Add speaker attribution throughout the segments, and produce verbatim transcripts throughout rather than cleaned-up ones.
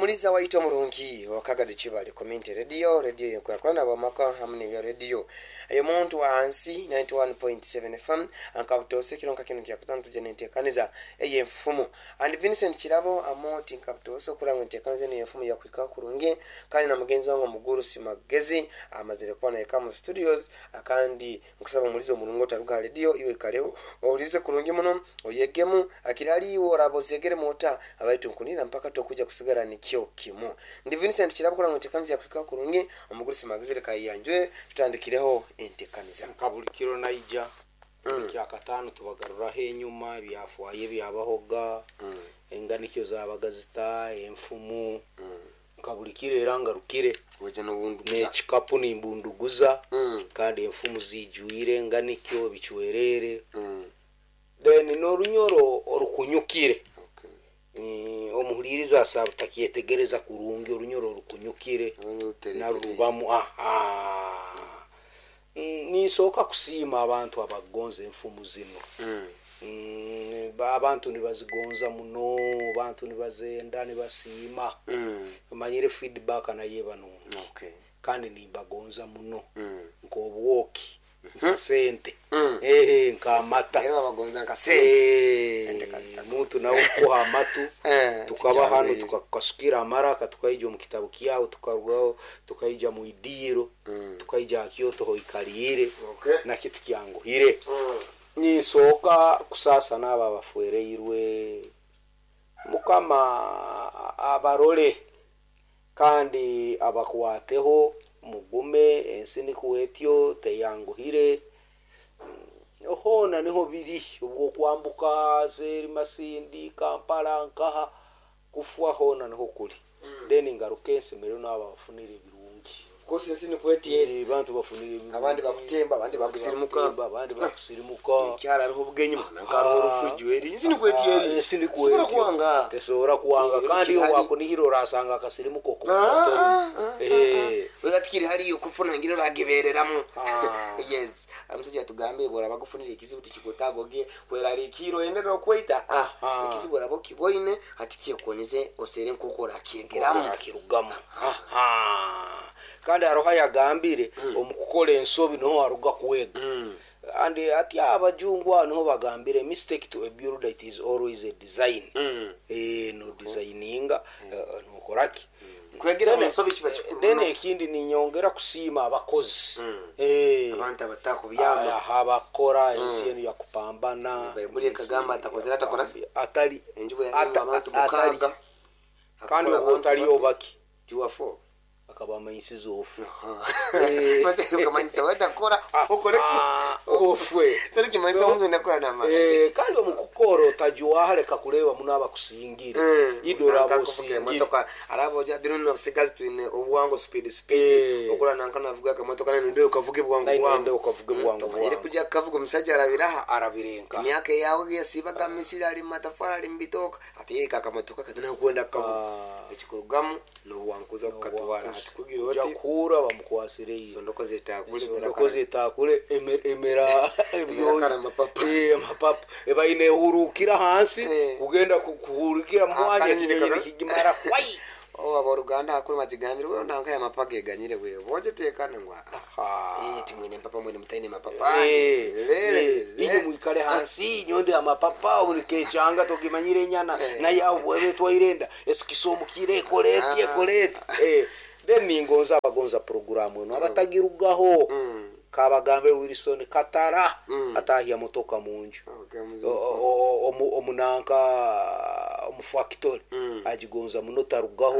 Speaker 1: Omuliza waitu omurungi wakagadi Kibale Community Radio, radio yenkwakurana bamaka hamwe n'ebya radio eyo muntu wansi ninety-one point seven F M ankabutose kiro nka kino kyakutano tujja nentekaniza ey'enfumu. And Vincent Kirabo amoti nkabutose okuranga entekaniza eno y'enfumu yakwika kurungi, kandi na mugenzi wange omuguru Simagezi amazire kuba naye mu studios. Akandi nkusaba omuliza omurungi otaruga radio iwe kaleho owulize kurungi muno oyegemu akirali orabozegere mota abaitu nkunira mpaka tokuja kusigara nikyo kimu. Ndi Vincent Kirabo kuranga entekaniza yakwika kurungi, omuguru Simagezi kayanjwe tutandikireho entekaniza.
Speaker 2: Kabuli kiro naija mm. Kyakatano tubagaruraho enyuma byafwaye byabahoga mm. Enganikyo zabagazita enfumu mm. Kabulikire era ngarukire n'ekikapu nimbunduguza mm. Kandi enfumu zijwire enganikyo bichwerere mm. Then n'orunyoro orukunyukire okay. Mm, omuhuliriza asaba takyetegereza kurungi orunyoro orukunyukire narubamu aha mm, nisooka kusiima abantu abagonza enfumu zino mm. Mm, abantu nibazigonza muno, abantu nibazenda nibasiima mm. Manyire feedback naye banungi
Speaker 1: okay.
Speaker 2: Kandi nibagonza muno
Speaker 1: mm.
Speaker 2: Nk'obwoki nka sente
Speaker 1: mm.
Speaker 2: Eh nka amata
Speaker 1: era bagonza nka sente
Speaker 2: eh muntu nawe kuha amatu tukaba hano tukakasukira amaraka tukaija mu kitabu kyawe tukarugaho tukaija mu idiro
Speaker 1: mm.
Speaker 2: Tukaija Kyoto hoikalire
Speaker 1: okay.
Speaker 2: Na kiti kyanguhire
Speaker 1: mm.
Speaker 2: Nisooka kusasa n'abo abafuereirwe mukama abarole kandi abakwateho mugume ensi nikuwetyo teyanguhire hona niho biri ubwo kwambuka zeri Masindi Kampala nkaha kufwa hona niho kuli mm. Then ngaruke ensimero n'abo bafunire ebirungi
Speaker 1: kosi ensi nikwetiere
Speaker 2: abantu bafunire ebirungi
Speaker 1: abandi bakutemba abandi bakusirimuka
Speaker 2: abandi bakusirimuka
Speaker 1: ekyara hariho obugenyi nkariho orufujo eri ensi nikwetiere
Speaker 2: ensi nikwetiere
Speaker 1: kuwanga
Speaker 2: tesobola kuwanga kandi wakunihira orasanga akasirimuka
Speaker 1: okuko eh uratikiri hariyo kufuna ngiro ragibereramu yes amusajja tugambe bora bakufunira ekizibu tikikutagoge kwerarikiro ende no kweita ah ekizibu rabo kiboine atikiye osere nkokora kiyegeramu
Speaker 2: akirugamu aha kandi aroha yagambire mm. Omukukola ensobi niho aruga kwega
Speaker 1: mm.
Speaker 2: And ati abajungwa niho bagambire mistake to a builder it is always a design
Speaker 1: mm.
Speaker 2: Eh no designinga mm. uh, nokoraki
Speaker 1: mm. Kwegera mu nsobi kiba kikuru
Speaker 2: then ekindi ninyongera kusiima abakozi
Speaker 1: mm.
Speaker 2: Eh
Speaker 1: abantu abatakubyama
Speaker 2: abakora ensi eno yakupambana
Speaker 1: Bayibuli ekagamba atakozera atakora
Speaker 2: atali
Speaker 1: abantu mukaga
Speaker 2: kandi otaliyo baki
Speaker 1: tiwafo
Speaker 2: akabamanyisiza ofu
Speaker 1: kamanyisa wetakora okore
Speaker 2: ofwe
Speaker 1: sari kimanyisa omuntu nakora nama
Speaker 2: eh kandi omukukoro otajuwa reka kureba muno abakusingire idora abosingire
Speaker 1: arabo ja dino n'abasigazi twine obwango speed speed okora nanka navuga akamotoka nene ndio ukavuga bwangu bwangu
Speaker 2: ndio ukavuga bwangu
Speaker 1: bwangu kuja kavuga omusajja arabiraha
Speaker 2: arabirenka
Speaker 1: emyaka yawe yasibaga misiri ali matafara ali mbitoka ati yeka akamotoka kagenda kwenda kavuga ekikurugamu nowankuza kukatwara
Speaker 2: kugira oti kura bamukwasire iyo
Speaker 1: sondoko zetakule
Speaker 2: sondoko zetakule emera ebyo
Speaker 1: amapapa
Speaker 2: eh amapapa ebaine hurukira hansi kugenda kuhurukira mwanya kinyonyi kigimara kwai
Speaker 1: oh aboruganda akuri majigambire we nanka ya mapapa geganyire we boje tekana ngwa eh timwene mpapa mwene mutaine mapapa
Speaker 2: eh inyo mwikale hansi nyonde amapapa ulikechanga tokimanyire nyana na yawe betwairenda esikisomukire koleti koleti eh then ningonza abagonza programu eno abatagirugaho
Speaker 1: mm.
Speaker 2: Kabagambe Wilson Katara
Speaker 1: mm.
Speaker 2: Atahya motoka munju
Speaker 1: okay,
Speaker 2: omunanka omufactory
Speaker 1: mm.
Speaker 2: agigonza muno tarugaho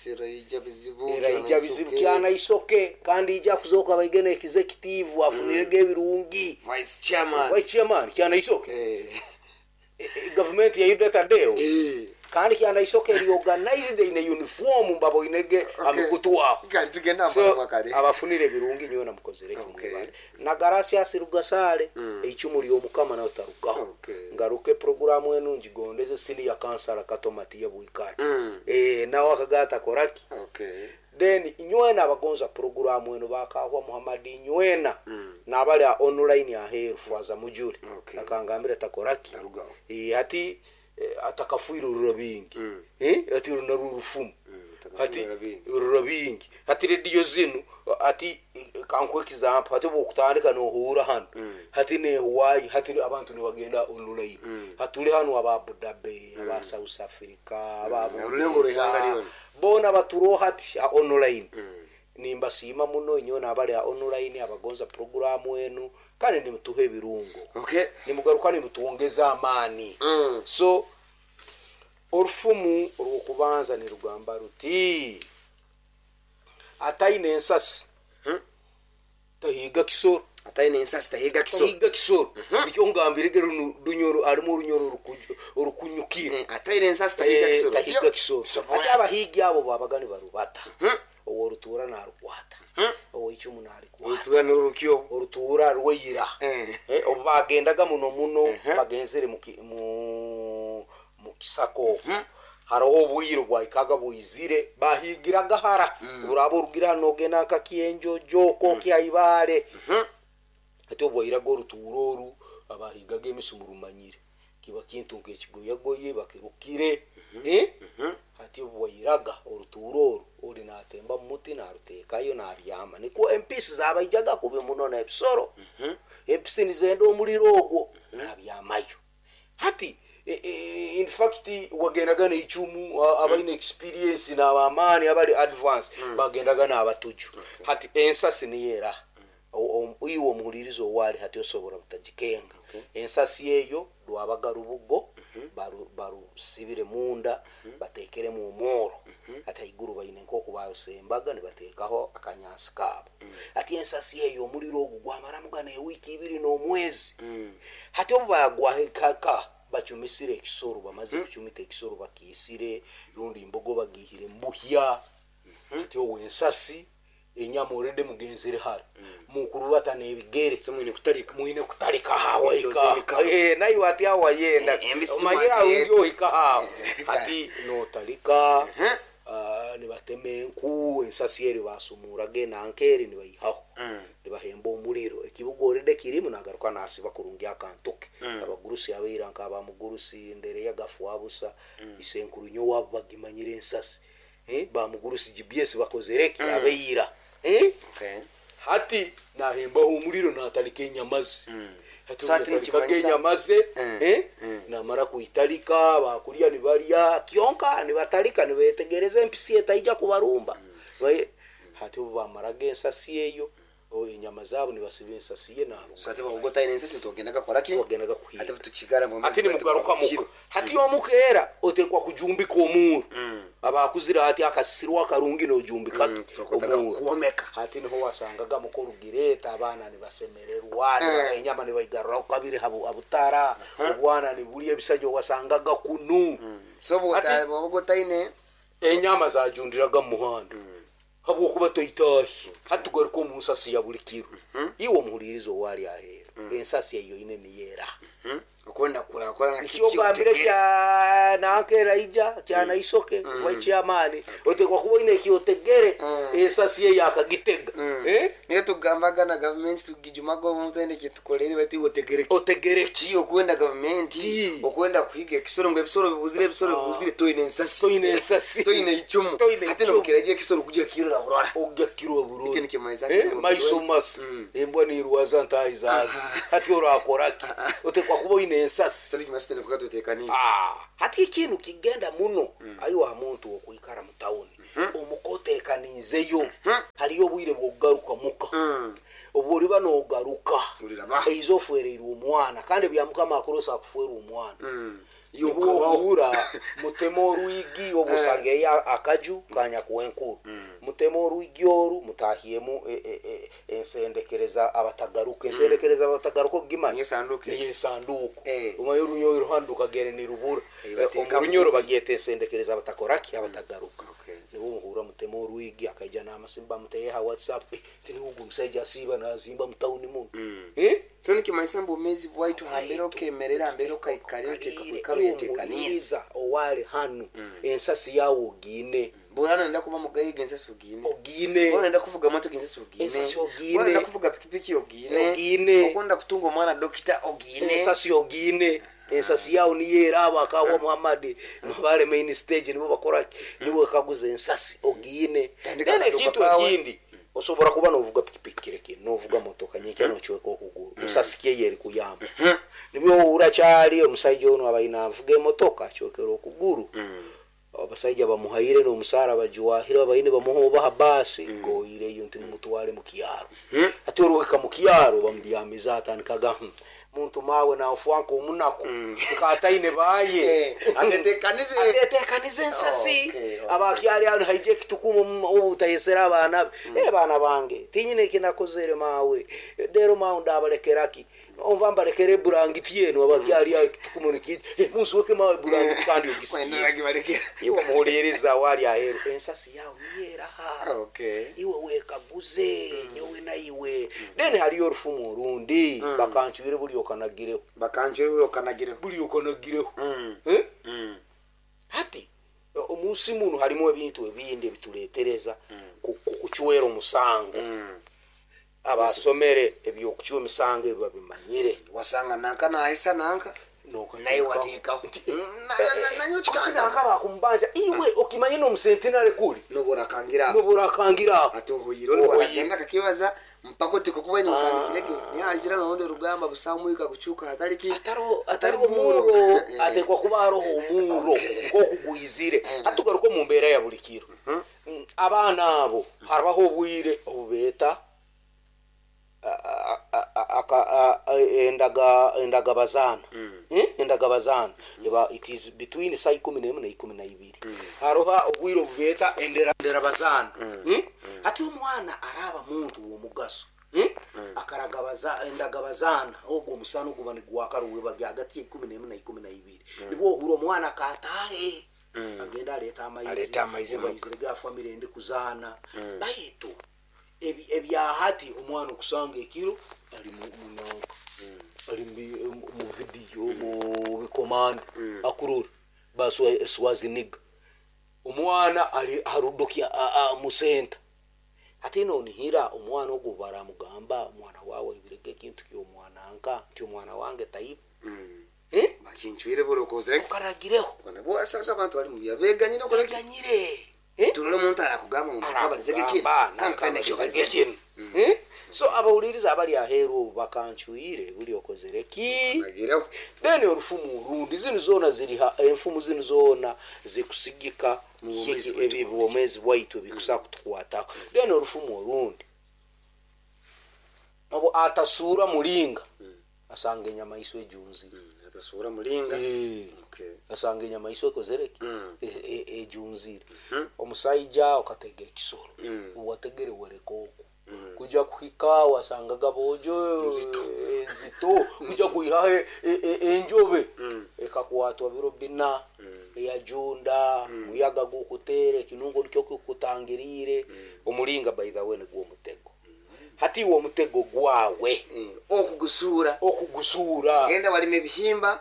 Speaker 1: eraija bizibu
Speaker 2: eraija bizibu kyana isoke kandi ija kuzoka baigene executive afunirege ebirungi
Speaker 1: vice chairman
Speaker 2: vice chairman kyana isoke
Speaker 1: eh.
Speaker 2: e, government ya Yuda Tadeo
Speaker 1: eh.
Speaker 2: kandi kyana isoke eri organized in a uniform mbabo inege
Speaker 1: Okay.
Speaker 2: amikutu wako
Speaker 1: Kali tugenda
Speaker 2: so
Speaker 1: makare
Speaker 2: abafunire birungi nyowe namukozere
Speaker 1: Okay.
Speaker 2: kimwe na Garasias Rugasale
Speaker 1: Mm.
Speaker 2: eicumu ly'omukama nawe tarugaho
Speaker 1: Okay.
Speaker 2: ngaruke programu enu njigondeze sini ya kansala katomatiye bwikale
Speaker 1: Mm.
Speaker 2: eh nawe akagata koraki
Speaker 1: Okay.
Speaker 2: then inywena abagonza programu eno bakahwa Muhammad inywena
Speaker 1: Mm.
Speaker 2: nabali a online aheru fwaza mujule
Speaker 1: Okay.
Speaker 2: akangambira takoraki
Speaker 1: Tarugaho.
Speaker 2: eh ati eh, atakafuirurura bingi
Speaker 1: Mm.
Speaker 2: eh ati runo rurufumu Hati rura bingi hati rediyo zinu ati kankuha example hati bwokutandika nohura hano hati nehuwayi hati abantu nibagenda online hatuli hano aba Abu Dhabi aba South Africa aba
Speaker 1: Orulengo rw'ihanga ryona.
Speaker 2: bona baturoho hati a online nimbasiima muno inyo nabali a online abagonza programu enu kandi nimutuha ebirungo
Speaker 1: Okay.
Speaker 2: nimugaruka nimutuongeza amaani
Speaker 1: Mm.
Speaker 2: so orufumu orwokubanza nirugamba ruti ataine ensasi tahiga kisoro
Speaker 1: Ataine ensasi tahiga kisoro.
Speaker 2: tahiga kisoro nikyo ngambire runo runyoro harimu orunyoro orukuju- orukunyukire
Speaker 1: Eh, Ataine ensasi tahiga
Speaker 2: Eh,
Speaker 1: kisoro.
Speaker 2: tahiga kisoro
Speaker 1: Sobola.
Speaker 2: ati abahigi abo babaga nibarubata oworutuura narukwata oweicumu narikwata
Speaker 1: Orutuura n'orukyo.
Speaker 2: orutuura rweira
Speaker 1: Eh.
Speaker 2: Eh, obu bagendaga muno muno bagenzere mu ki- mu mu kisaka okwo hariho obwire bwahikaga bwizire bahigiraga hara buraba orugira hano nogenda nka kienjojo oko kiaibare ati obwairaga orutuura oru abahigaga emisi murumanyire kiba kintu nkekigoyagoye bakirukire Eh? hati obwairaga orutuura oru ori natemba mumuti narutekayo nabyama nikwo empisi zabaijaga kubi muno nebisoro empisi nizenda omuliro ogwo nabyamayo hati e, e, in fact wagendaga neicumu a- abaine experience nabamaani abali advance bagendaga nabatuju hati ensasi niyera O- o- iwe omuhuliriza owali hati osobora butagikenga ensasi eyo rwabaga rubugo baru- barusibire munda batekeremu omworo ati haiguru baine nkoku barusembaga nibatekaho akanyansi kaabo ati ensasi eyo omuliro ogu gwamaramu gana ewiiki ibiri n'omwezi hati obu bagwahekaka bacumisire ekisoro bamaze kucumita ekisoro bakiisire rundi imbogo bagihire mubuhya ati owo ensasi enyama orede mugenzere hara mukurubata n'ebigere
Speaker 1: So mwine kutalika.
Speaker 2: mwine kutalika hawaika
Speaker 1: Kutoza
Speaker 2: eh nayo ati awayenda
Speaker 1: Eh, embisi
Speaker 2: omanyira
Speaker 1: timwagenda.
Speaker 2: ungi ohika hawo ati notalika ah, nibatema enku ensasi eri basumuraga enankeri nibayihaho nibahemba omuliro ekibuga orede kirimu nagaruka nasiba kurungi akantuke abagurusi abeira nkabamugurusi ndere yagafuabusa isenkuru nyo wabo bagimanyire ensasi eh, bamugurusi G B S bakozereki abeira eh?
Speaker 1: Okay.
Speaker 2: hati nahembaho omuliro natalika enyama ze hati
Speaker 1: So hati
Speaker 2: natalikaga
Speaker 1: nikimanyisa-
Speaker 2: enyama ze
Speaker 1: Mm.
Speaker 2: eh, namara kuitalika bakulya nibalya kyonka nibatalika nibetegereza empisi etaija kubarumba Baye- hati obu bamaraga ensasi eyo o, enyama zaabo nibasiba ensasi ye naruga
Speaker 1: So ati bwoba otaine ensasi togendaga kukora ki?
Speaker 2: wagendaga kuhiga
Speaker 1: Ati tukigara mu
Speaker 2: ati nimugaruka muka hati omukeera otekwa kujumbika omuuru abakuzire hati akasisirwa akarungi nojumbika
Speaker 1: Mm, twakwetaga
Speaker 2: omuuru
Speaker 1: kuomeka.
Speaker 2: hati niho wasangaga mukorugireta abaana nibasemererwa mm. enyama nibaigaruraho kabiri habu- habutara obwana nibulya ebisajja wasangaga kunu
Speaker 1: So
Speaker 2: Ati-
Speaker 1: bwoba otaine
Speaker 2: enyama zajundiraga mu muhanda habwokuba toitahi hati tugaruka omu nsasi ya buli kiro iwe omuhuliriza owali aheeru ensasi eyo ine niyera
Speaker 1: okwenda kurakora na
Speaker 2: ekyogambire kya nankeraija kyanaisoke kuva ekyamaani otekwa kuba oine ekyotegere ensasi eyo akagitega Eh?
Speaker 1: niyo tugambaga na gavumenti tugijumaga omuntu aine kyetukolere baitu otegere
Speaker 2: otegere ki
Speaker 1: ki okwenda gavumenti
Speaker 2: Ti.
Speaker 1: okwenda kuhiga ekisoro ngu ebisoro bibuzire ebisoro bibuzire toine ensasi
Speaker 2: toine ensasi
Speaker 1: toine icumu
Speaker 2: Toine
Speaker 1: ate
Speaker 2: icumu.
Speaker 1: nokiragira ekisoro kujya kirora burora
Speaker 2: ojja kirwa burungi
Speaker 1: Eki nikimanyisa
Speaker 2: Eh,
Speaker 1: ngu
Speaker 2: maiso masa embwa nirwaza ntahi zazi hati orakoraki otekwa kuba oine ensasi
Speaker 1: sali kimasi tene kuka tutekanisa
Speaker 2: Ah, hati ekintu kigenda muno ayiwa muntu okwikara mu tawuni omukotekanizeyo hariyo obwire bwokugaruka muka obwo oliba nogaruka
Speaker 1: Oliraba.
Speaker 2: eiza ofereirwe omwana kandi bya mukama akurosa akuferwa omwana
Speaker 1: Yokabaho.
Speaker 2: yokuhura mutema orwigi oba osangeyo akaju kanyakuwa enkuru mutema orwigi oru mutahiemu e- e- e- ensendekereza abatagaruka ensendekereza abatagaruka ogimanya
Speaker 1: Niyo sanduku.
Speaker 2: niyo esanduku
Speaker 1: Eh.
Speaker 2: omanye orunyoro ruhanduka gere nirubura
Speaker 1: Eh, bateeka
Speaker 2: omurunyoro bagyeta ensendekereza abatakoraki abatagaruka
Speaker 1: Okay.
Speaker 2: niwo muhura mutema orwigi akaija n'amasimba muteyeha whatsapp eh, tiniwo ogu omusajja asiiba nazimba mutawuni muno Eh?
Speaker 1: so nikimanyisa mbu obumezi bwaitu hambere okemerera hambere okaikarira oteeka kwikara oyetekanisa
Speaker 2: omuhuriza owali hanu ensasi yawe ogiine
Speaker 1: bwona nenda kuba mugayiga ensasi ogiine
Speaker 2: ogiine
Speaker 1: bwona nenda kuvuga motoka ensasi ogiine
Speaker 2: Ensasi ogiine.
Speaker 1: bwona nenda kuvuga pikipiki ogiine
Speaker 2: Ogiine.
Speaker 1: okwenda kutunga omwana dokita ogiine
Speaker 2: ensasi ogiine Ensasi yawe niyo eraba akahwa Muhammad mabale main stage nibo bakora nibo kaguza ensasi ogiine.
Speaker 1: Tandika
Speaker 2: Then
Speaker 1: akaduka
Speaker 2: ekintu
Speaker 1: kawe.
Speaker 2: ekindi, osobora kuba novuga pikipiki kireke, novuga motoka nyekya, nocweka okuguru, ensasi kyeye eri kuyamba. Nibyo urakyali omusaija ono abaina avuga emotoka acwekera okuguru, abasaija bamuhaire n'omusaara bajuwahire, abaine bamuha obaha baasi goireyo nti nimutware mu kyaro. Ati oruhika mu kyaro bamudyamiza, atandikaga, "Hmm, muntu mawe nafuanka omunaku nkataine baye."
Speaker 1: Eh, atetekanize.
Speaker 2: Atetekanize ensasi.
Speaker 1: Okay, okay.
Speaker 2: Abakyali ano haija ekitukumu obutayesera abaana be, "Eh, baana bange, tinyine ekinakozere mawe, rero mawe ndabalekeraki? Omba mbalekere eburangiti eno." Abakyali aho ekitukumu nikija, "Eh, munsuweke mawe burangiti," kandi
Speaker 1: Kwenda
Speaker 2: ogisikize.
Speaker 1: nagibalekera.
Speaker 2: Iwe muhuliriza wali aheru, ensasi yawe niyeraha?
Speaker 1: Okay.
Speaker 2: Iwe wekaguze nyowe naiwe. Then haliyo orufumu orundi, bakancwire buli okanagireho.
Speaker 1: Bakanjwe okanagireho.
Speaker 2: Buli okanagireho.
Speaker 1: Mm.
Speaker 2: Eh?
Speaker 1: Mm.
Speaker 2: Hati omunsi muno harimu ebintu ebindi ebituletereza ku- ku- kucwera omusango.
Speaker 1: Mm.
Speaker 2: Abasomere ebyokucwa emisango ebyo babimanyire.
Speaker 1: Wasanga nanka nahisa nanka naye wateekaho. Nanyo kikanda.
Speaker 2: Nanka bakumubanja, iwe okimanye n'omusentinare kuli
Speaker 1: noburakangira.
Speaker 2: Noburakangira.
Speaker 1: Ati ohuyire ori waragenda kakibaza mpaka oti kukuba nyukandikirege nihagira norundi rugamba busamwika kucuka hatariki.
Speaker 2: Atariho atariho omuro, atekwa kuba hariho omuro nk'okugwizire. Hatugaruka omu mbeera ya buli kiro. Mm, abaana abo harabaho obwire obubeeta a- a- a- aka- a- a- endaga endagabazaana. Eh, endagabazaana eba it is between saa ikumi n'emwe na ikumi na ibiri. Hariho obwire obubeeta endera enderabazaana. Eh? Ati omwana araba muntu w'omugaso. Eh? Akaragabaza endagabazaana ogwo omusana oguba nigwaka ruwebage hagati ya ikumi n'emwe na ikumi na ibiri, nibwo ohura omwana akataahe agenda aleeta amaizi.
Speaker 1: Aleeta amaizi muka.
Speaker 2: Amaizi ga family endi kuzaana. Baitu ebi- ebyahati omwana okusanga ekiro ali mu- munanka ali mu- mu- mu vidiyo mu bikomando akurura baswaziniga omwana ali harudokya musenta. Ate nonihira omwana ogwo baramugamba, omwana wawe ibirege ekintu kyomwana nka nti omwana wange taiba. Eh?
Speaker 1: Bakincwire buri okozere.
Speaker 2: Okaragireho.
Speaker 1: Wasanga abantu bali mu byabeganyire okoreki.
Speaker 2: Oganyire. Eh?
Speaker 1: Turole omuntu arakugamba ngu nakabalizege kinu kandi kandi
Speaker 2: Nakabalizege kinu. Eh? So abawuliriza abali aheeru obu, bakancwire buli okozere ki?
Speaker 1: Nagireho.
Speaker 2: Then orufumu orundi, zinu zoona ziri ha- enfumu zinu zoona zikusigika
Speaker 1: Mu bwomeezi
Speaker 2: hiki-
Speaker 1: bwaitu.
Speaker 2: ebi- bwomeezi bwaitu ebikusa kutukwataho. Then orufumu orundi, obu atasuura mulinga asanga enyamaiso ejunzire.
Speaker 1: Atasura mulinga.
Speaker 2: Eh.
Speaker 1: Okay.
Speaker 2: Asanga enyamaiso ekozereki?
Speaker 1: Mm.
Speaker 2: E- e- ejunzire. Omusaija okatega ekisoro,
Speaker 1: Mm.
Speaker 2: wategere waleka oku kuja kuhika wasangaga bojo
Speaker 1: Nzito.
Speaker 2: enzito kuja kuihaho e- e- enjobe ekakwatwa biro bina eyajunda muyaga gukuteera ekinungo nikyo kikutangiriire. Omulinga, by the way, nigwo omutego. Hati iwe omutego gwawe
Speaker 1: Eh, okugusuura.
Speaker 2: Okugusuura.
Speaker 1: Genda walima ebihimba,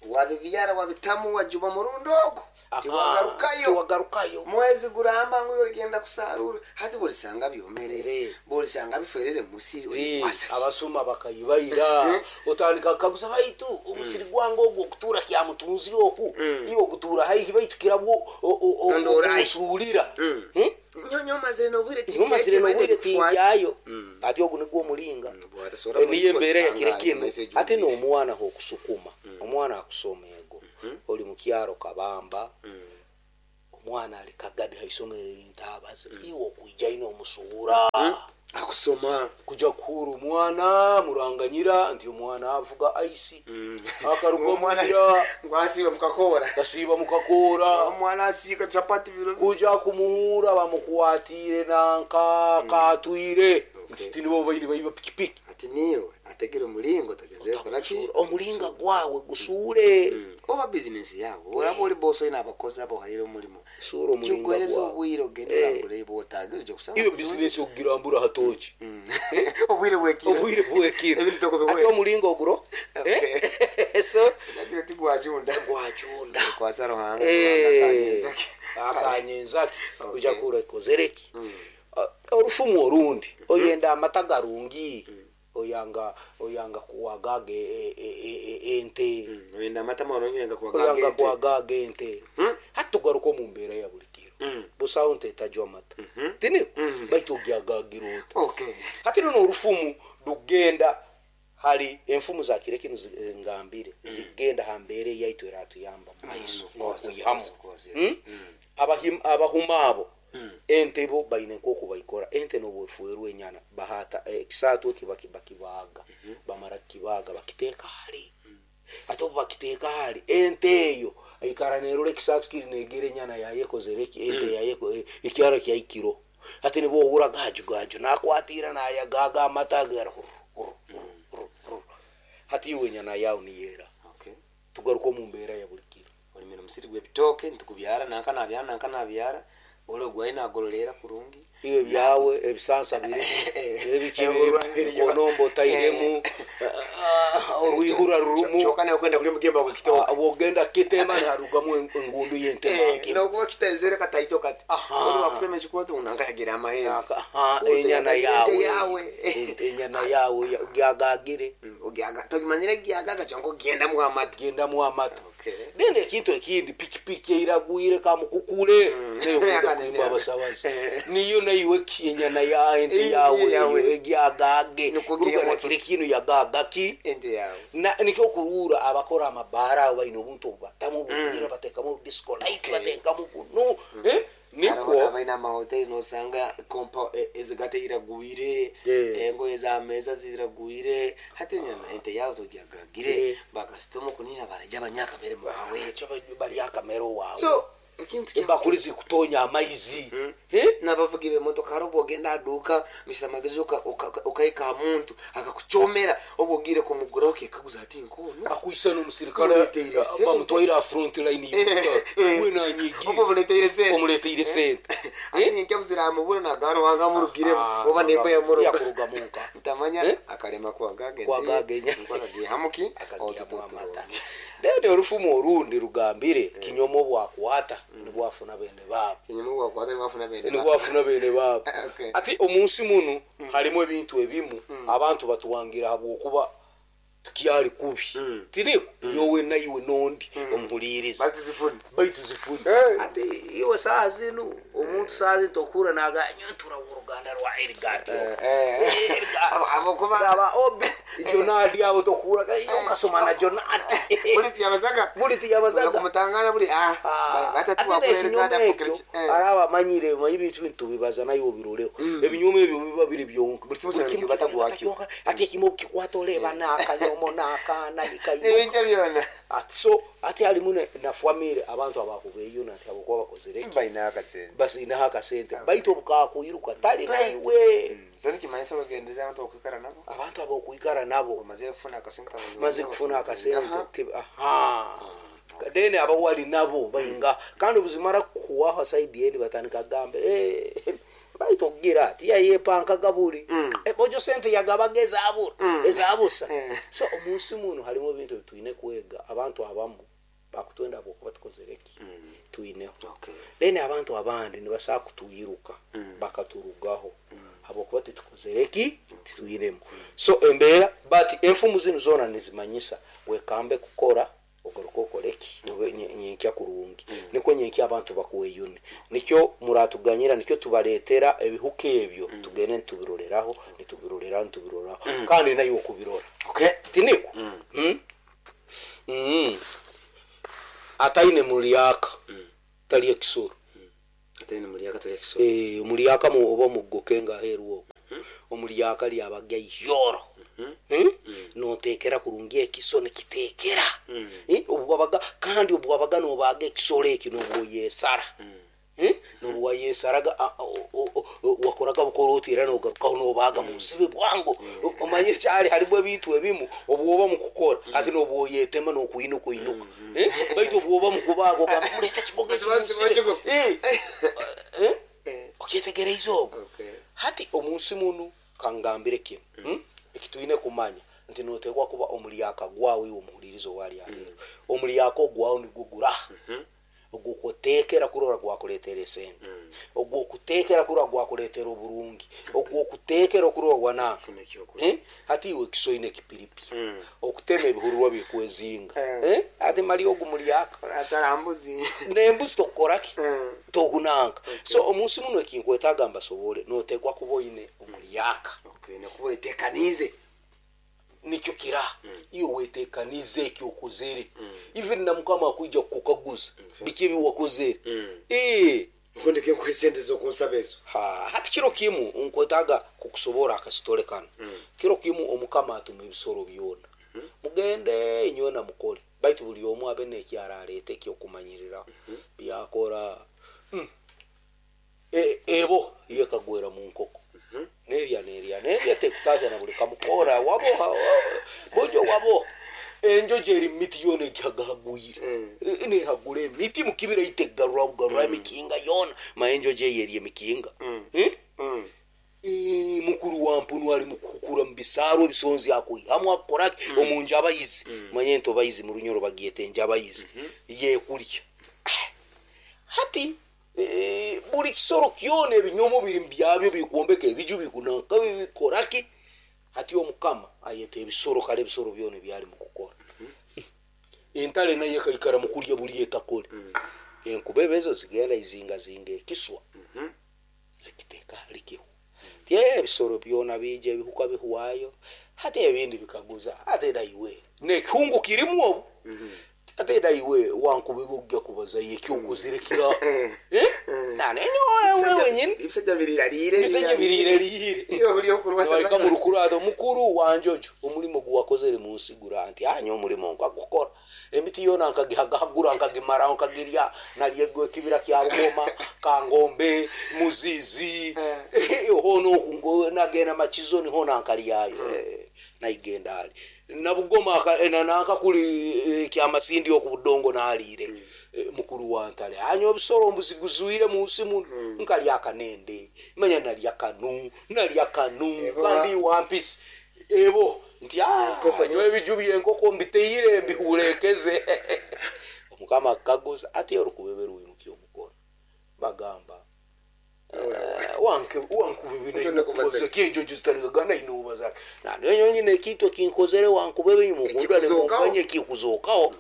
Speaker 1: wabibyara, wabitamu, wajuba murundi ogwo tiwagarukayo.
Speaker 2: Tiwagarukayo.
Speaker 1: Mwezi guramba ngu origenda kusarura, hati bolisanga byomerere,
Speaker 2: Re.
Speaker 1: bolisanga biferere musiri.
Speaker 2: Eh,
Speaker 1: Orikwasa.
Speaker 2: Abasuma bakayibayira, otandika kukaguza, baitu omusiri gwange ogwo okutuura kyamutunzi oku, iwe ogutuura haihi, baitu kirabwo
Speaker 1: Nondorayo.
Speaker 2: osuulira.
Speaker 1: Mm.
Speaker 2: Eh?
Speaker 1: Nyonyo omazire nobwire.
Speaker 2: Omazire nobwire tingyayo. Ati ogu nigwo omulinga. Niyo embeera yakire kinu. Ate n'omwana okusukuma omwana akusoma ego oli mukyaro kabamba, omwana ali kagadi haisomero erintabazi, iwe okuija ino omusuura.
Speaker 1: Akusoma.
Speaker 2: Kuja kuhura omwana muranganyira nti omwana avuga aisi akaruga
Speaker 1: Omwana
Speaker 2: omwira.
Speaker 1: Ngwasiba mukakora.
Speaker 2: Kasiiba mukakoora.
Speaker 1: Omwana asiika chapati biro.
Speaker 2: Kuja kumuhura bamukwatire nanka katwire nti tinibo bairi baiba pikipiki.
Speaker 1: Ati niwe ategere omulingo tagezere koraki.
Speaker 2: Omulinga gwawe gusuule.
Speaker 1: Oba bizinesi yabo oraba ori bosi oyine abakozi abo ohaire omurimo,
Speaker 2: Suura omulinga
Speaker 1: kikuhereza
Speaker 2: gwawe.
Speaker 1: obwire ogende
Speaker 2: Eh.
Speaker 1: orambure bwotaga oija kusanga.
Speaker 2: Iyo bizinesi okugirambura hatoki.
Speaker 1: Obwire bwekiro.
Speaker 2: Obwire bwekiro.
Speaker 1: Ebintu tokubihweza.
Speaker 2: Ate omulinga oguro.
Speaker 1: Okay.
Speaker 2: Eh? So
Speaker 1: Nagira tigwajunda.
Speaker 2: Gwajunda.
Speaker 1: Kwasa Ruhanga.
Speaker 2: Eh,
Speaker 1: Akanyenzaki.
Speaker 2: akanyenzaki.
Speaker 1: Okay.
Speaker 2: Kuja kura ikozereki. Orufumu orundi, oyenda amata garungi. Oyanga oyanga kuwagaga e- e- e- e- ente.
Speaker 1: Oyenda amata marungi, oyanga
Speaker 2: Oyanga
Speaker 1: kuwagaga ente.
Speaker 2: kuwagaga ente. Hati tugaruka omu mbeera ya buli kiro, busaho nte etajwa amata, tiniko? Baitu ogyagagira ota?
Speaker 1: Okay.
Speaker 2: Hati runo orufumu rugenda hari enfumu za kire kinu zi- ngambire zigenda ha mbeera eyaitu eratuyamba mu maiso
Speaker 1: Of course, of
Speaker 2: n'okwihamu.
Speaker 1: course, of course, yes.
Speaker 2: Mm? Abahim- abahuma abo ente bo baine nkoku baikora ente nobwefuerwa enyana bahata eh, ekisaatu eki baki- bakibaga, bamara kukibaga bakiteeka hali. Ate obu bakiteeka hali, ente eyo aikara nerora ekisaatu kiri negera enyana yayo ekozere eki, ente yayo eko- eh, ekyara kyaikiro. Ate nibo ohura gaju gaju nakwatira nayagaga amata gara huru, huru, huru, huru, huru. Hati iwe enyana yawe niyera.
Speaker 1: Okay.
Speaker 2: Tugaruka omu mbeera ya buli kiro.
Speaker 1: Olimire omusiri gw'ebitooke, ntukubyara nanka nabyara nanka nabyara ole ogwaye nagololera kurungi.
Speaker 2: Iwe byawe ebisansa birimu, ebiki birimu, onomba otairemu, orwihura rurumu.
Speaker 1: Kyoka nawe kwenda kulya omugemba gw'ekitooke.
Speaker 2: Ah, bwogenda kitema niharugamu en- engundu y'entema.
Speaker 1: Nokuba kitezere kataito kati.
Speaker 2: Aha.
Speaker 1: Oli wakutema ekikwato nanka yagira amahembe.
Speaker 2: Aha, enyana
Speaker 1: Ente
Speaker 2: yawe.
Speaker 1: Yawe.
Speaker 2: Enyana yawe ya- gyagagire.
Speaker 1: Ogyaga togimanyire gyagaga kyonka ogendamu amata.
Speaker 2: Gendamu amata.
Speaker 1: Okay.
Speaker 2: Then ekintu ekindi, pikipiki eiragwire kamukukule nayo kunda
Speaker 1: Akane
Speaker 2: kuimba
Speaker 1: nyaga.
Speaker 2: abasabazi.
Speaker 1: Eh.
Speaker 2: Niyo naiwe ki- enyana ya ente
Speaker 1: Eh,
Speaker 2: yawe
Speaker 1: yawe.
Speaker 2: eyo egyagage.
Speaker 1: Nikwo
Speaker 2: Kurugana
Speaker 1: gihemu.
Speaker 2: kire kinu yagagaki.
Speaker 1: Ente yawe.
Speaker 2: Na nikyo kuruura abakora amabaara abo baine obuntu obubatamu obukugira batekamu disco light,
Speaker 1: Okay.
Speaker 2: batekamu bunu. Eh,
Speaker 1: Nikwo
Speaker 2: nikwo
Speaker 1: abaina amahoteli nosanga kompa e- ezigate iragwire,
Speaker 2: Eh.
Speaker 1: engoye z'ameza ziragwire. Hati enyana ente yawe togyagagire.
Speaker 2: Eh.
Speaker 1: Bakasitoma kunina barajya abanyakamere mwawe.
Speaker 2: Ekyo bali akamere waawe.
Speaker 1: So ekintu kya
Speaker 2: Embakuli zikutonya amaizi. Eh?
Speaker 1: N'abavugi b'emotoka, hari obwo ogenda aduuka mr magezi ukaika muntu akakucomera obwo ogire kumuguraho okekaguza ati nkono
Speaker 2: Akwisa n'omusirikale.
Speaker 1: Omuleteire sente.
Speaker 2: Bamutwaire aha front line we nanyigi.
Speaker 1: Obwo buleteire sente.
Speaker 2: Omuleteire sente.
Speaker 1: Ate nyenkya buziramubura nagaruhanga amurugiremu oba nemba yamuruga.
Speaker 2: Yakurugamu nka.
Speaker 1: Ntamanya.
Speaker 2: Eh?
Speaker 1: Akarema kwagaga.
Speaker 2: Kwagaga enya.
Speaker 1: Hamuki.
Speaker 2: Akagihamu amata. Then orufumu orundi rugambire kinyomo bwakwata nibwafuna bene baabo.
Speaker 1: Kinyuma bwakwata nibwafuna bene baabo.
Speaker 2: Nibwafuna bene baabo.
Speaker 1: Okay.
Speaker 2: Ati omunsi muno harimu ebintu ebimu abantu batuwangira habwokuba tukyali kubi, tiniko? Nyowe naiwe nondi omuhuliriza.
Speaker 1: Batizifuna.
Speaker 2: Baitu zifuna.
Speaker 1: Eh.
Speaker 2: Ati iwe saa zinu omuntu saa zinu tokura naga nyo ntura uruganda rwa Erigati.
Speaker 1: Abokuba
Speaker 2: Aba obi Jonadi abo tokura iyo kasoma na Jonadi.
Speaker 1: Buli tiyabazaga.
Speaker 2: Buli tiyabazaga.
Speaker 1: Kumutangana buli ah batatu wakulereka
Speaker 2: ekyo araba amanyire manyi ebintu bintu tubibaza naye obiroleho ebinyoma ebyo biba biri byonka.
Speaker 1: Buli kimu kyona kibata gwakyo.
Speaker 2: Ati ekimu kikwata oleba n'akanyomo n'akaana nikayimuka.
Speaker 1: Ebintu byona.
Speaker 2: Ati so ati halimu ne- na famire abantu abakubeeyo nati abokuba bakozere ki?
Speaker 1: Balina akasente.
Speaker 2: Basinaho akasente baitu obukakuyiruka tali naiwe.
Speaker 1: So nikimanyisa ogendeza abantu okwikara nabo.
Speaker 2: Abantu abokwikara nabo.
Speaker 1: Omazire kufuna akasente.
Speaker 2: Maze kufuna akasente ti- aha then abawali nabo bainga kandi obuzimara kuwaho saidi endi batandika gambe, "Eh, baitu okugira ati yayepankaga buli. Eh, bojo sente yagabaga ezabura ezabusa."
Speaker 1: Eh.
Speaker 2: So omunsi muno harimu ebintu ebitwine kwega. Abantu abamu bakutwenda habwokuba tukozere ki, twineho.
Speaker 1: Okay.
Speaker 2: Then abantu abandi nibasaa kutuyiruka bakaturugaho habwokuba titukozere ki, titwinemu. So embeera, but enfumu zinu zoona nizimanyisa wekambe kukora ogaruka okore ki. Obe nye- nyenkya kurungi nikwo nyenkya abantu bakweyune. Nikyo muratuganyira, nikyo tubaletera ebihuka ebyo tugende nitubiroreraho nitubiroreraho nitubiroreraho kandi nayo okubirora.
Speaker 1: Okay.
Speaker 2: Tiniko? Mm. Mm. Ataine mulyaka tali ekisoro.
Speaker 1: Atene muri akatari kisoro.
Speaker 2: Eh, omulyaka mu- oba omugoke nga aheeru okwo omulyaka lyabaga yoro. Hmm? Notekera kurungi ekiso nikitekera. Eh, obwabaga kandi obwabaga nobaga ekisoro eki nobwoyesara. Eh, nobwayesaraga a- o- o- o- wakoraga bukora oti era nogarukaho nobaga munsibe bwangu. Omanye kyali harimu ebintu ebimu obwoba mukukora ati nobwoyetema nokwinuka inuka. Eh, baitu obwoba mukubaga ogamba mulete ekigogo eki
Speaker 1: Siba- siba
Speaker 2: munsibe.
Speaker 1: kigo.
Speaker 2: Eh, eh,
Speaker 1: Eh.
Speaker 2: okyetegereize obwo?
Speaker 1: Okay.
Speaker 2: Hati omunsi munu kangambire kimu, mm. ekitwine kumanya nti notekwa kuba omulyaka gwawe iwe omuhulirizo wali aheeru omulyaka ogwawe nigwo guraha ogwokutekera kurora gwakuletera esente. Ogwokutekera kurwa gwakuletera oburungi, ogwokutekera kurwa gwana eh? Hati iwe kisoine kipiripi
Speaker 1: Mm.
Speaker 2: okutema ebihururwa bikwezinga
Speaker 1: Eh.
Speaker 2: eh? Ati mali ogu mulyaka
Speaker 1: Asarambuzi.
Speaker 2: nembuzi tokukoraki
Speaker 1: Mm.
Speaker 2: tokunanka. So omunsi muno ekinkwetaaga mbasobole notekwa kuba oine omulyaka.
Speaker 1: Okay, nakuba etekanize.
Speaker 2: Nikyo kira iyo wetekanize ekyokozere, even na Mukama akwija kukukaguza biki ebi wakozere.
Speaker 1: Mm.
Speaker 2: Eh,
Speaker 1: Nkundike nkuhe sente zokunsaba ezo.
Speaker 2: Ha, hati kiro kimu nkwetaaga kukusobora akasitole kano. Kiro kimu Omukama atuma ebisoro byona, mugende inywena mukole, baitu buli omu abe nekyaraleeta ekyokumanyiriraho byakora. Mm. E- ebo yekagwera mu nkoko, nerya nerya nerya, tekutahya na buli kamukora waboha bojo wabo. Enjojo eri miti yona egihagahagwire.
Speaker 1: Mm.
Speaker 2: Nehagura emiti mukibira itegarura bugarura emikinga yona, ma enjojo eyo eri emikinga. Eh?
Speaker 1: Mm.
Speaker 2: Eh, mukuru wa mpunu ali mukukura mu bisaaru ebisonzi akwihamu akoraki omu njabayizi, manye nti obayizi mu Runyoro bagyeta enjabayizi yekulya. Hati eh, buli kisoro kyona ebinyomo biri mubyabyo bikwombeka ebiju bikunanka bikoraki. Hati Omukama ayeta ebisoro, kale ebisoro byona ebyali mukukora. Entale nayo ekaikara mukulya buli etakole. Enkubebe ezo zigenda izingazinga ekiswa, zikiteeka halikihu tye. Ebisoro byona bija, ebihuka bihwayo. Hati ebindi bikaguza, ate naiwe nekihungu kirimu obu, ate naiwe wankubebe ojja kubazayo ekyokozire kira. Eh? Nanenyowe wenyini.
Speaker 1: Ebisajja biriralire.
Speaker 2: Ebisajja biriralire.
Speaker 1: Iyo buli okurwata.
Speaker 2: Waika mu rukurato mukuru wanjojo omulimo guwakozere munsi gura nti anya omulimo nkagukora, emiti yona nkagihagahagura nkagimaraho nkagirya nalyego ekibira kya Bugoma, Kangombe, Muzizi, hono oku nagenda Makizo niho nankalyayo. Eh, naigenda ali na Bugoma aka- eh, na- nankakuli eh, kyamasindi oku budongo naliire. Eh, mukuru wantale anya obusoro mbuziguzwire munsi muno, nkalya akanende, manya nalya kanu nalya kanu.
Speaker 1: Ebo.
Speaker 2: Kandi wampisi ebo nti "Ah,
Speaker 1: Enkoko
Speaker 2: nyowe ebiju byenkoko mbiteire mbihulekeze." Omukama akaguza ati orukubebe rwimukya omukono, bagamba
Speaker 1: Ugenda
Speaker 2: wankubebe
Speaker 1: kubaza.
Speaker 2: kenjojo zitarigagana inuba nanenyo ekintu ekinkozere wankubebe mukundane.
Speaker 1: Ekikuzokaho.
Speaker 2: Mukanye ekikuzokaho.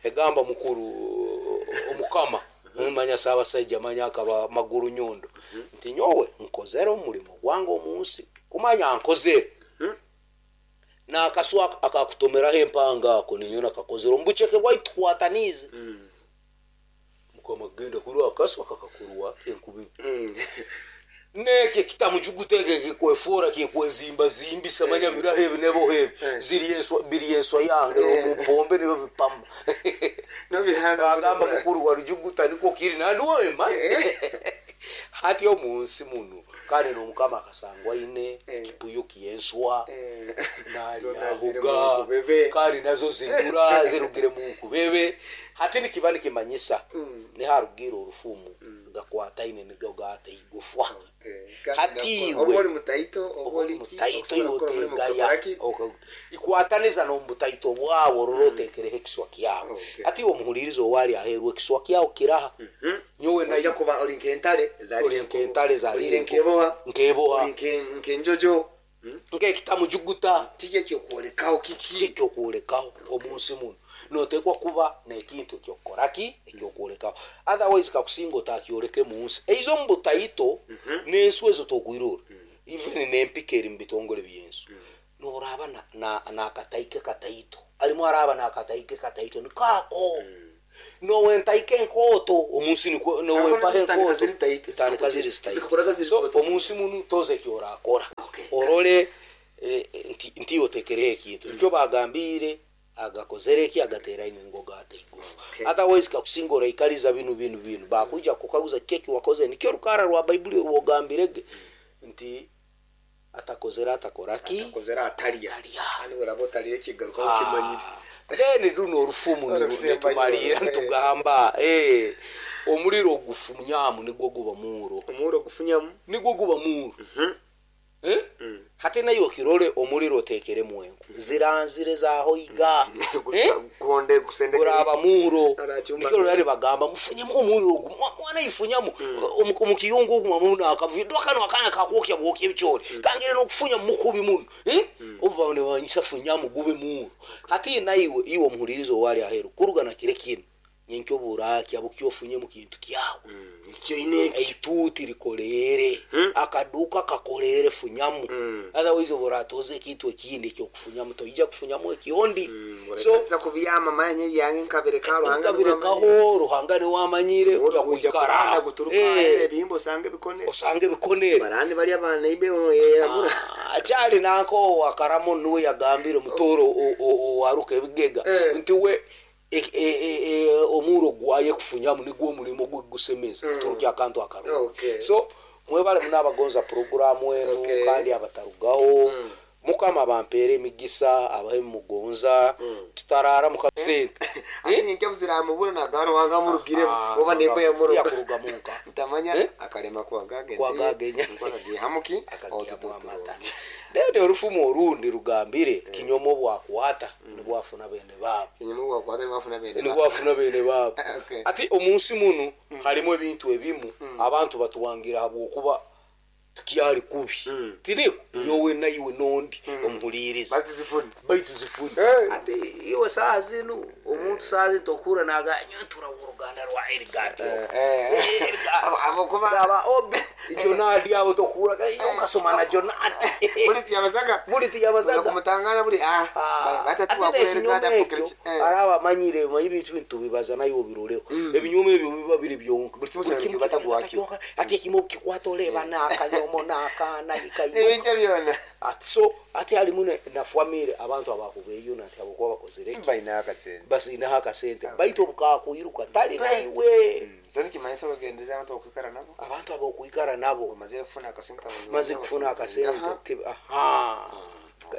Speaker 2: Egamba mukuru Omukama, manya Saabasajja, manya akaba maguru nyondo, nti nyowe nkozere omulimo gwange omunsi, kumanya nkozere nakaswa akakutomeraho empanga ako ninyo nakakozere omubuceke bwaitu tukwatanize. Mukama genda kurwa akaswa kakakurwa enkubi.
Speaker 1: Mm.
Speaker 2: Nekyo kitamujuguteeke kikwefora kikwezimbazimbisa manya biraho ebi nebo ebi
Speaker 1: Eh.
Speaker 2: ziri enswa biri enswa yange omupombe nibo bipama.
Speaker 1: Nobihana.
Speaker 2: Agamba mukuru wa rujuguta niko kiri nandiwema hati omunsi muno kandi nomukama akasangwa aine
Speaker 1: Eh.
Speaker 2: ekipuyo kyenswa.
Speaker 1: Eh. Zona ziri mu
Speaker 2: Nalyahuga
Speaker 1: nkubebe.
Speaker 2: kandi nazo zindura zirugire mu nkubebe. Hati nikiba nikimanyisa niharugira orufumu gakwataine nigo gata igufwa.
Speaker 1: Eh,
Speaker 2: Hati
Speaker 1: oba
Speaker 2: iwe
Speaker 1: oli mutaito oba oli ki,
Speaker 2: mutaito
Speaker 1: okusobola kukora omulimu
Speaker 2: yotegaya
Speaker 1: gukakoraki?
Speaker 2: ikwataniza nomutaito bwawe orora otekereho ekiswa kyawe.
Speaker 1: Okay.
Speaker 2: Ati omuhuliriza owali aheerwa ekiswa kyawe kiraha nyowe
Speaker 1: Ojja
Speaker 2: nayo
Speaker 1: kuba oli nk'entale ezalira
Speaker 2: Oli nk'entale ezalira
Speaker 1: Oli
Speaker 2: enkoko.
Speaker 1: nk'eboha.
Speaker 2: Nk'eboha.
Speaker 1: Oli nke- nk'enjojo.
Speaker 2: Nk'ekitamujuguta.
Speaker 1: Kiki ekyokwolekaho kiki?
Speaker 2: Ekyokwolekaho omunsi muno notekwa kuba nekintu ekyokukoraki ekyokwolekaho, otherwise kakusinga otakyoleke munsi eizo omu butaito n'ensu ezo tokwirora, even n'empika eri mu bitongole byensu noraba na- na- nakataike kataito alimu araba nakataike kataito nikaako nowentaike enkoto omunsi nikwo- nowempaho
Speaker 1: zitandika
Speaker 2: enkoto
Speaker 1: ziri taito,
Speaker 2: zitandika ziri zitaito.
Speaker 1: zikakora ziri
Speaker 2: So
Speaker 1: koto.
Speaker 2: omunsi muno toza ekyorakora
Speaker 1: Okay.
Speaker 2: orole eh, nti nti otekereho ekintu nikyo bagambire agakozere eki agateraine nigo gata igufu.
Speaker 1: Okay.
Speaker 2: Otherwise kakusinga oraikariza binu binu binu bakuija kukaguza keki wakoze nikyo rukara rwa Baibuli rwogambirege nti atakozere atakoraki.
Speaker 1: Akozera atalya.
Speaker 2: Atalya.
Speaker 1: Kandi bw'oraba otalire ekigarukaho kimanyire.
Speaker 2: Then runo orufumu niru-
Speaker 1: Orukusemba
Speaker 2: nitumalira
Speaker 1: nyo.
Speaker 2: nitugamba eh, omuliro gufunyamu nigwo guba muuro.
Speaker 1: Omuuro gufunyamu.
Speaker 2: Nigwo guba muuro. Eh? Hati nayo okirore omuliro otekere mwenku ziranzire zahoiga. Eh?
Speaker 1: Kuhonde kusendeka
Speaker 2: Kuraba muro.
Speaker 1: Arachumba.
Speaker 2: Nikyo rari bagamba mufunyemu omuliro ogu. Mwa- mwana ifunyamu omu omu kiyungu ogu mwamuna akavuyo kano akana kakwokya bwokya ebikyori kangire nokufunya mukubi muno, eh? Obu bane banyisa funyamu gube muro. Hati naiwe iwe omuhulirizo wali aheru kuruga na kire kinu nyenkyo burakya bukyofunye mu kintu kyawe.
Speaker 1: Ikyo ineki.
Speaker 2: Eituti likolere, akaduka kakolere, funyamu. Otherwise buratoze ekintu ekindi ekyokufunyamu toija kufunyamu ekiondi. So
Speaker 1: so kubyama manye byange nkabireka Ruhanga.
Speaker 2: Nkabirekaho Ruhanga niwamanyire
Speaker 1: kuikara
Speaker 2: kuikara
Speaker 1: guturuka
Speaker 2: Eh,
Speaker 1: ebihimbo osange bikone.
Speaker 2: Osange bikonere.
Speaker 1: Barani bali abana ibe yamura.
Speaker 2: Akyali nanko wakaramo nuwe yagambire mutoro owaruka ebigega
Speaker 1: Eh.
Speaker 2: nti we e- e- e- e, omuro gwaye kufunyamu nigwo omulimo gwe gusemeza kuturukya akantu akarungi.
Speaker 1: Okay.
Speaker 2: So mwebale munabagonza programu enu.
Speaker 1: Okay.
Speaker 2: Kandi abatarugaho Mukama bampeere emigisa abahe mugonza tutarara mukasente.
Speaker 1: Ati nyenke buziramubura naga Ruhanga murugire oba nembo yamuruga.
Speaker 2: Yakuruga munka.
Speaker 1: Ntamanya.
Speaker 2: Eh?
Speaker 1: Akarema kwagagenya.
Speaker 2: Kwagagenya.
Speaker 1: Hamuki.
Speaker 2: Akagihamu amata. Then orufumu orundi rugambire kinyomo bwakwata nibwafuna bene babo.
Speaker 1: Kinyumu wakwata mwafuna bene.
Speaker 2: Nibwafuna bene babo.
Speaker 1: Okay.
Speaker 2: Ati omunsi muno harimu ebintu ebimu abantu batuwangira habwokuba tukyali kubi tiniko nyowe naiwe nondi omuhuliriza.
Speaker 1: Batizifuni.
Speaker 2: Baitu zifuni.
Speaker 1: Eh.
Speaker 2: Ati iwe saa zinu omuntu saa zinu tokura naga nyo ntura uruganda rwa Elgato.
Speaker 1: Eh. Abo kuba
Speaker 2: Raba obi Jonadi abo tokura iyo kasoma na Jonadi.
Speaker 1: Buli tiyabazaga.
Speaker 2: Buli tiyabazaga.
Speaker 1: Kumutangana buli ah batatu wakulereka
Speaker 2: ekyo araba amanyire manyi ebintu bintu bibaza naye obiroreho ebinyoma ebyo biba biri byonka.
Speaker 1: Buli kimu usanga kibata gwakyo.
Speaker 2: Ati ekimu kikwata oleba n'akanyomo n'akaana ikayimuka.
Speaker 1: Ebintu byona.
Speaker 2: Ati so ati halimu ne- na famire abantu abakubeeyo nati abokuba bakozere ki.
Speaker 1: Balina akasente.
Speaker 2: Basinaho akasente baitu obukakuiruka tali naiwe.
Speaker 1: So nikimanyisa ogendeza abantu okuikara nabo.
Speaker 2: Abantu abokuikara nabo.
Speaker 1: Omazire kufuna akasente.
Speaker 2: Maze kufuna akasente te- aha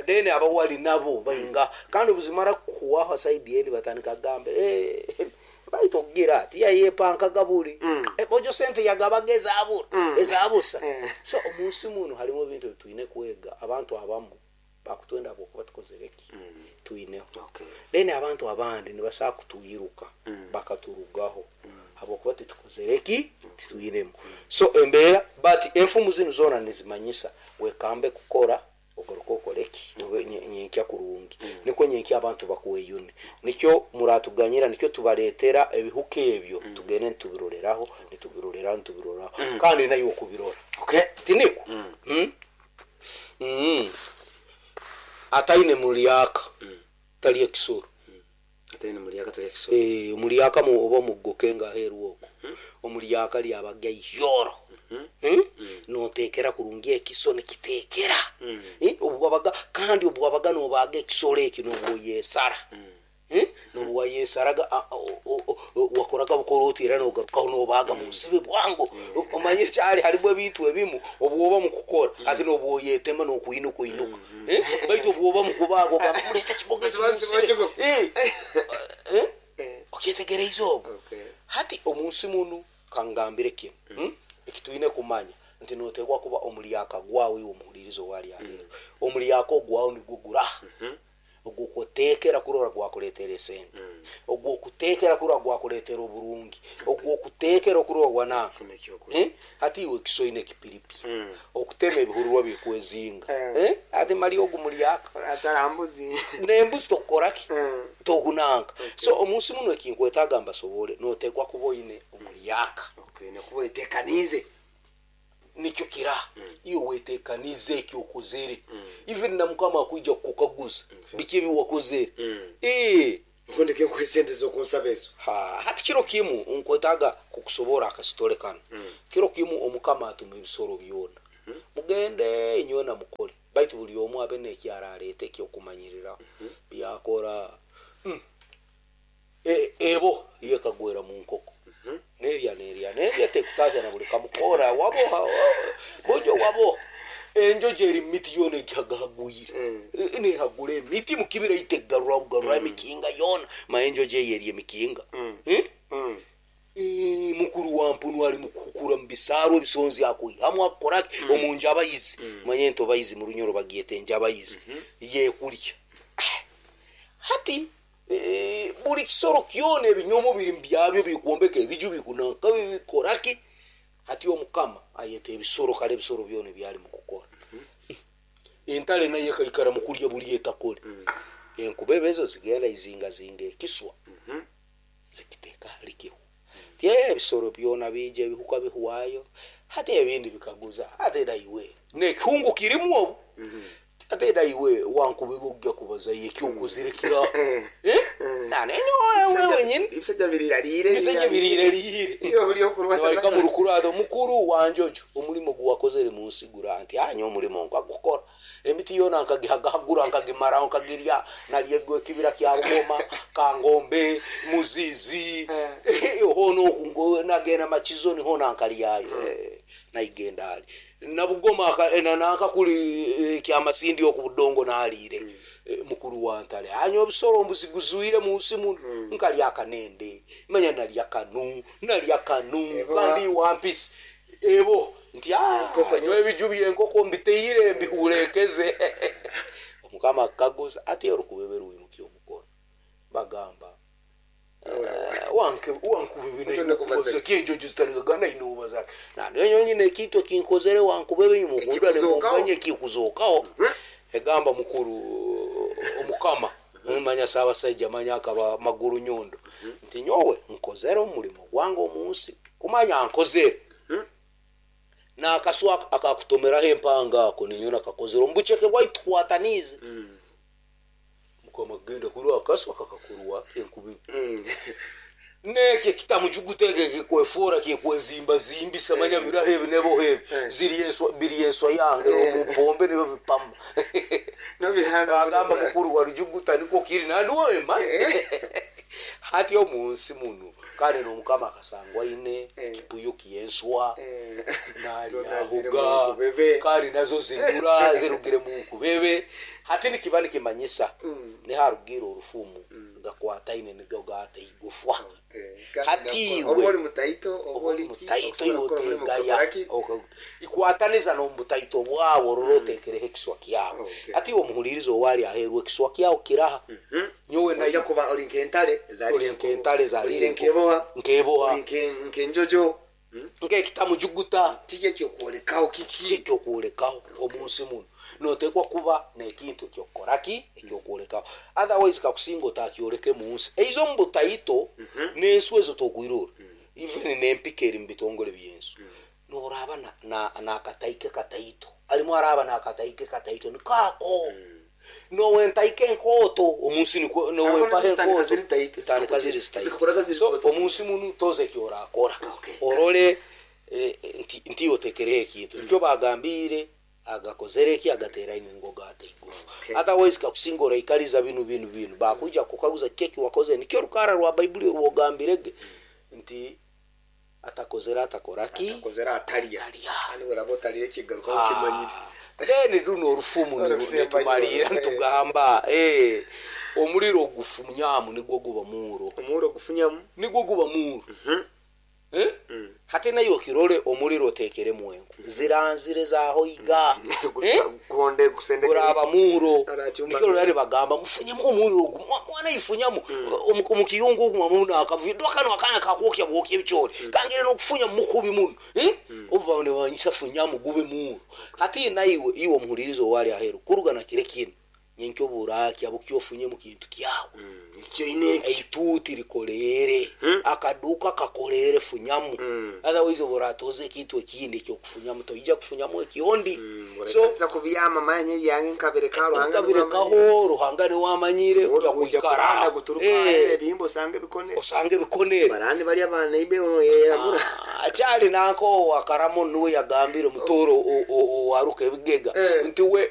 Speaker 2: then abawali nabo bainga kandi buzimara kuwaho saidi yeni batandika gambe, eh baito kugira ati yayepanka gabuli. Eh, bojo sente yagabaga ezabura ezabusa. So omunsi muno harimu ebintu ebitwine kwega. Abantu abamu bakutwenda bokuba tukozere ki twineho.
Speaker 1: Okay.
Speaker 2: Then abantu abandi nibasaa kutuyiruka bakaturugaho habwokuba titukozere ki titwinemu. So embeera but enfumu zinu zoona nizimanyisa wekambe kukora ogaruka okore ki Obe nye- nyenkya kurungi nikwo nyenkya abantu bakweyune nikyo muratuganyira nikyo tubaletera ebihuka ebyo tugende nitubiroreraho nitubiroreraho nitubiroreraho kandi nayo okubirora.
Speaker 1: Okay.
Speaker 2: Tiniko mm. Mm. Ataine mulyaka tali ekisoro.
Speaker 1: Atene mulyaka tali ekisoro.
Speaker 2: Eh, omulyaka mu oba mugoke nga aheeru okwo omulyaka lyabaga iyoro. Hmm? Notekera kurungi ekiso nikitekera. Eh, obwabaga kandi obwabaga nobaga ekisoro eki nobwoyesara. Eh, nobwayesaraga a- o- o- o- wakoraga bukoroti era nogarukaho nobaga musibe bwangu. Omanye kyali harimu ebintu ebimu obwoba mukukora ati nobwoyetema nokuinuka inuka. Eh, baitu obwoba mukubaga ogamba mulete ekigogo
Speaker 1: Siba- siba
Speaker 2: musibe.
Speaker 1: ekigogo.
Speaker 2: Eh, eh,
Speaker 1: Eh.
Speaker 2: okyetegereize obwo.
Speaker 1: Okay.
Speaker 2: Hati omunsi muno kangambire kimu, mm. ekitwine kumanya nti notekwa kuba omulyaka gwawe iwe omuhulirizo wali aheeru omulyaka ogwawe nigwo guraha ogwokutekera kurora gwakuletera esente ogwokutekera kurora gwakuletera oburungi ogwokutekera kurora gwanaka.
Speaker 1: Funa ekyokulya.
Speaker 2: Eh? Hati iwe ekisoine ekipiripi okutema ebihururwa bikwezinga.
Speaker 1: Eh.
Speaker 2: Eh? Ati mali ogu mulyaka.
Speaker 1: Asara mbuzi.
Speaker 2: Nembuzi tokukoraki
Speaker 1: Mm.
Speaker 2: tokunanka. So omunsi muno ekinkwetaaga mbasobole notekwa kuba oine omulyaka.
Speaker 1: Okay, nakuba etekanize.
Speaker 2: Nikyo kira iyo wetekanize ekyokozere even na Mukama akwija kukukaguza biki ebi wakozere. Eh,
Speaker 1: Nkundike nkuhe sente zokunsaba ezo.
Speaker 2: Ha, hati kiro kimu nkwetaaga kukusobora akasitole kano. Kiro kimu Omukama atuma ebisoro byona mugende inywena mukole baitu buli omu abe nekyaraleeta ekyokumanyiriraho byakora. Mm. E- ebo yekagwera mu nkoko nerya nerya nerya tekutahya na buli kamukora waboha bojo waboha enjojo eri miti yona egihagahagwire. E- nehagura emiti mukibira itegarura bugarura emikinga yona ma enjojo eyo eri emikinga. Eh?
Speaker 1: Mm.
Speaker 2: Eh, mukuru wa mpunu ali Mukuhukura mu bisaaru, ebisonzi akwihamu, akukoraki omu njabayizi. Manye entobayizi mu Runyoro bagyeta enjabayizi, yekulya. Hati eh, buli kisoro kyona ebinyomo biri byabyo, bikwombeka ebiju, bikunanka, bikoraki. Hati omukama ayeta ebisoro, kale ebisoro byona ebyali mukukora. Entale nayo ekaikara mukulya buli etakole. Enkubebe ezo zigenda izingazinga ekiswa, zikiteeka hali kihu ti ebisoro byona bija, ebihuka bihwayo. Hati ebindi bikaguza, ate naiwe nekihungu kirimu obu, ate naiwe wankubebe ojja kubazayo ekyokozire kira nanenyowe wenyini.
Speaker 1: Ebisajja biriraliire.
Speaker 2: Ebisajja biriraliire.
Speaker 1: Iyo buli okurwata.
Speaker 2: Nibaika mu rukurato, mukuru wanjojo, omulimo guwakozere munsi gura nti anya omulimo nkagukora, emiti yona nkagihagahagura, nkagimaraho, nkagirya, nalyego ekibira kya Bugoma, Kangombe, Muzizi, hono oku nagenda Makizo, niho nankalyayo. Eh, naigenda ali nabugoma aka- eh, na- nanka kuli eh, kyamasindi oku budongo naliire. Eh, mukuru wantale anya obusoro mbuziguzwire munsi muno, nkalya akanende, manya nalya kanu, nalya kanu.
Speaker 1: Eboha.
Speaker 2: Kandi wampisi ebo nti "Ah,
Speaker 1: Enkoko.
Speaker 2: Nyowe ebiju byenkoko mbiteire, mbihulekeze." Omukama akaguza ati orukubebe rwimukya omukono, bagamba
Speaker 1: Otone
Speaker 2: wankubebe
Speaker 1: kubaza.
Speaker 2: kenjojo zitarigagana inobaza nanenyo nyine ekintu ekinkozere wankubebe nyumukundane.
Speaker 1: Ekikuzokaho.
Speaker 2: Mumanye ekikuzokaho. Egamba mukuru omukama, manya saabasajja, manya akaba maguru nyondo, nti nyowe nkozere omulimo gwange omunsi, kumanya nkozere nakaswa akakutomeraho empanga ako, ninyo nakakozere omubuceke bwaitu tukwatanize. Mukama kugenda kurwa akaswa kakakurwa enkubi nekyo kitamujuguta kikwefora, kikwezimbazimbisa, manya biraho ebi nebo ebi ziri enswa, biri enswa yange omupombe nibo bipama. Agamba mukuru wa rujuguta niko kiri nandiwema hati omunsi muno, kandi nomukama akasangwa aine ekipuyo kyenswa nalyahuga, kandi nazo zirura zirugire mu nkubebe. Hati nikiba nikimanyisa niharugire orufumu gakwataine nigo gata igufwa. Hati
Speaker 1: oba
Speaker 2: iwe
Speaker 1: oli mutaito, oba oli ki,
Speaker 2: mutaito,
Speaker 1: okusobola kukora omulimu
Speaker 2: yotegaya
Speaker 1: gukoraki.
Speaker 2: Ikwataniza n'omutaito bwawe, orora otekereho ekiswa kyawe.
Speaker 1: Okay.
Speaker 2: Ati omuhuliriza owali aheru, ekiswa kyawe kiraha? Nyowe
Speaker 1: Ojja
Speaker 2: nayo
Speaker 1: kuba oli nk'entale ezalire
Speaker 2: Oli nk'entale ezalire
Speaker 1: Oli nk'eboha.
Speaker 2: Nk'eboha.
Speaker 1: Oli nke- nk'enjojo.
Speaker 2: Nk'ekitamujuguta.
Speaker 1: Kiki ekyokwolekaho kiki?
Speaker 2: Kikyokwolekaho omunsi muno notekwa kuba nekintu ekyokukoraki, ekyokwolekaho, otherwise kakusinga otakyoleke munsi eizo omu butaito n'ensu ezo tokwirora, even n'empika eri mu bitongole byensu, noraba na- na- nakataike kataito alimu, araba nakataike kataito nikaako nowentaike enkoto omunsi nikwo nowempaho.
Speaker 1: Zitandika
Speaker 2: Enkoto
Speaker 1: ziri taito,
Speaker 2: zitandika ziri zitaito.
Speaker 1: zikakora ziri
Speaker 2: So
Speaker 1: nkoto.
Speaker 2: omunsi muno toza ekyorakora,
Speaker 1: Okay.
Speaker 2: orole eh, nti nti otekereho ekintu nikyo bagambire agakozere eki agateraine nigo gata igufu.
Speaker 1: Okay.
Speaker 2: Otherwise kakusinga oraikariza binu binu binu, bakuija kukaguza keki wakoze, nikyo rukara rwa Baibuli rwogambirege nti atakozere atakoraki.
Speaker 1: Atakozere atalya.
Speaker 2: Atalya.
Speaker 1: Kandi bweraba otalire ekigarukaho kimanyire.
Speaker 2: Then runo orufumu niru-
Speaker 1: Orusembayo.
Speaker 2: nitumalira nitugamba eh, omuliro gufunyamu nigwo guba muuro.
Speaker 1: Omuuro gufunyamu.
Speaker 2: Nigwo guba muuro. Eh? Hati nayo okirole omuliro otekeremu enku ziranzire zahoiga. Eh?
Speaker 1: Gukonde gusendekere.
Speaker 2: Guraba muuro.
Speaker 1: Arachumba.
Speaker 2: Nikyo rurari bagamba mufunyemu omuliro ogu. Mwa- mwana ifunyamu Omu- omukiyungu ogu mwamuna akavuyo kano akana kakwokya bwokya ebikyori kangire nokufunya mukubi muno. Eh? Obu babone banyisa funyamu gube muuro. Hati naiwe iwe omuhulirizo owali aheru kuruga na kire kinu nyenkyo burakya bukyofunye mu kintu kyawe.
Speaker 1: Ekyo ine ekyo.
Speaker 2: Eituti likolere, akaduka kakolere, funyamu. Otherwise oburatoze ekintu ekindi ekyokufunyamu, toija kufunyamu ekiondi. So
Speaker 1: so kubyama manye byange nkabireka Ruhanga.
Speaker 2: Nkabirekaho Ruhanga niwamanyire
Speaker 1: kuikara
Speaker 2: kuikara
Speaker 1: guturuka
Speaker 2: Eh,
Speaker 1: ebihimba osanga ebikone.
Speaker 2: Osange bikonere.
Speaker 1: Barani bali abana ibe ono yeyamura.
Speaker 2: Akyali nanko wakaramo nuwe yagambire mutoro owaruka ebigega
Speaker 1: Eh.
Speaker 2: nti we